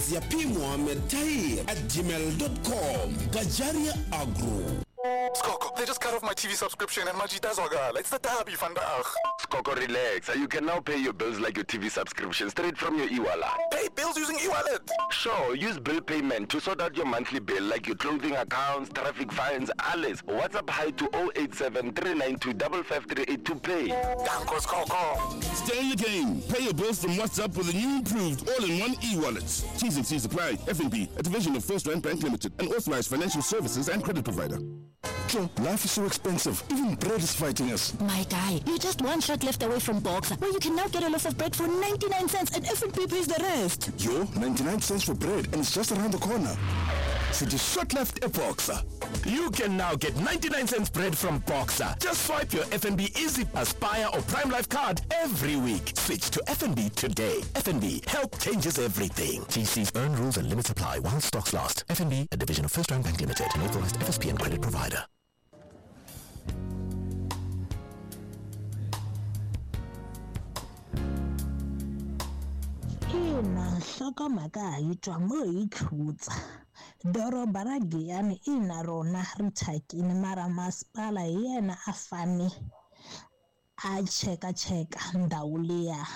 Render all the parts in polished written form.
adirese ya pmohamedtahir@gmail.com. Gajaria Agro. Skoko, they just cut off my TV subscription and Majita. It's the derby vandaag. Skoko, relax. You can now pay your bills like your TV subscription straight from your e-wallet. Pay bills using e-wallet? Sure, use bill payment to sort out your monthly bill like your clothing accounts, traffic fines, alles. WhatsApp hi to 087 392 5538 to pay. Danko, Skoko. Stay in the game. Pay your bills from WhatsApp with a new improved all-in-one e-wallet. T's and C's apply. FNB, a division of First Rand Bank Limited, an authorized financial services and credit provider. Joe, life is so expensive. Even bread is fighting us. My guy, you're just one shot left away from Boxer, where you can now get a loaf of bread for 99 cents and FNB pays the rest. Yo, 99 cents for bread and it's just around the corner. So just shot left a Boxer. You can now get 99 cents bread from Boxer. Just swipe your FNB Easy Aspire or Prime Life card every week. Switch to FNB today. FNB, help changes everything. TC's earn rules and limits apply while stocks last. FNB, a division of First Rand Bank Limited, an authorized FSP and credit provider. Ina, nhlokomhaka ha yi twa mo hi khutsa. Doroba ra Giyani ina rona ri thyakini mara masipala hi yena a fane a chekacheka ndhawu liya,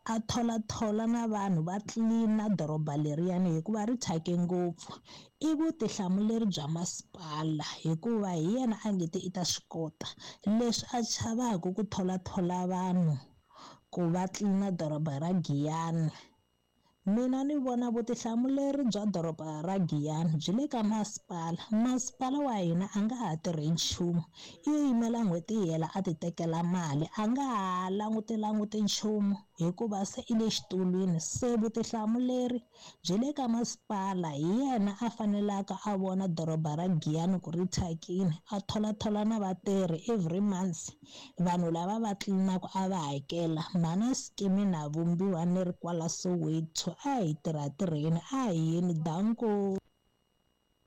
a tholathola na vanhu va tlilina doroba leriyani hikuva ri thyake ngopfu. I vutihlamuleri bya masipala hikuva hi yena a nge te i ta swi kota. Leswi a chavaka ku tholathola vanhu ku va tlilina doroba ra Giyani. Mina ni vona vutihlamuleri bya doroba ra Giyani byi le ka masipala. Masipala wa hina a nga ha tirhi nchumu, i yo yimela n'hweti yi hela a ti tekela mali, a nga ha langutilanguti nchumu hikuva se i le xitulwini. Se vutihlamuleri byi le ka masipala, hi yena a fanelaka a vona doroba ra Giyani ku ri thyakini, a tholathola na vatirhi every month, vanhu lava va tlilinaka a va hakela. Mhana Skimi na Vumbiwa ni ri kwala Soweto, a hi tirha tirheni, a hi yeni, danko.